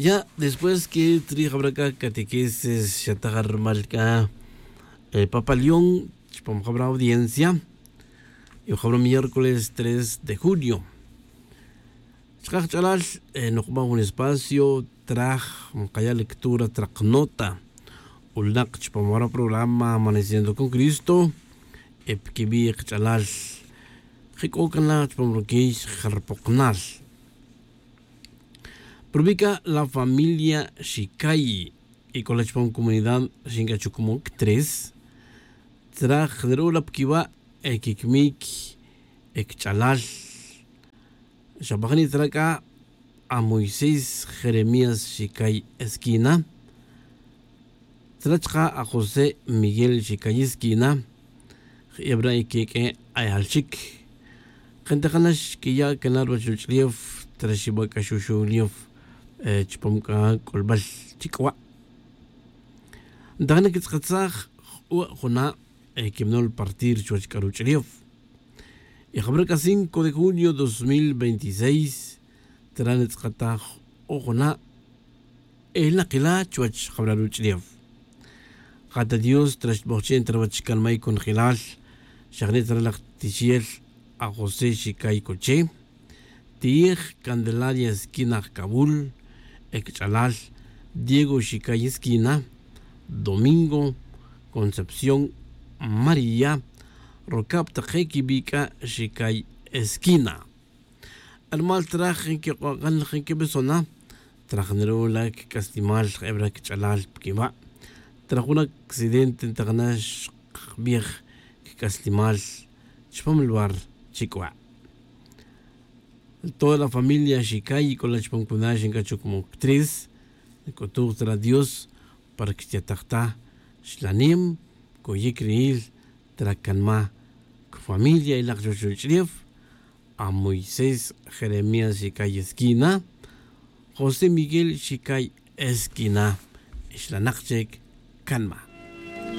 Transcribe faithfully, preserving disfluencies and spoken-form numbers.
Ya después que trij jabra c'a catequesis xataj rumal c'a papa león chupam jabra audiencia. Y jabra miércoles tres de junio chaka' kach'alal, nukba' jun espacio traj mkaya' lectura traq nota. Ulnaq chupam jabra programa amaneciendo con cristo. Pkibi' kach'alal jik'o' cana chupam ruquiy jal rupoqnal. Pero vica la familia xicay y c'o la chupam comunidad xinc'achucmoc tres. Tzraj nra'ul la pquiwa' quicmic cch'alal. Xabajni' tzra c'a a moisés jeremías xicay esquina. Tzra chka' a josé miguel xicay esquina. Je'ebra' queq'ue' ayal chic. Kentejanax quiya' cana ruwech ruch'ulef tzra xiba c'axuxulef chupam c'a c'ulbal chic'wa'. Ntajana quitz'akatsaj j'u' juna' quimnol partir chuwech c'a ruch'ulef. Y jabra c'a cinco de junio dos mil veintiséis tzra nitz'akataj j'u' juna' elnakila chuwech jabra ruch'ulef. Ja ta dios tzra xtbojche' nta ruwech canmay conjelal. Xajni' tzra laj tixel a josé xicay coche. Ti'ij candelaria esquina jcabul ecch'alal diego xicay esquina. Domingo concepción maría rocab take quibic'a' xicay esquina. Hermal traj nquik'ok'an nquibesona. Traj nra'ul la quic'aslimal je'ebra' quech'alal pquiba'. Traj jun accidente ntajana xkbij quic'aslimal chupam lugar chic'wa'. Toda la familia xicay y c'o la chupam cuna xinc'achuc moctres. Nc'utuj tzra dios para que xtiataj ta xlanem coyic riyil. Tzra canma cofamilia y lak chuwech ruch'ulef a moisés jeremías xicay esquina. José miguel xicay esquina. Ixlanak chic canma.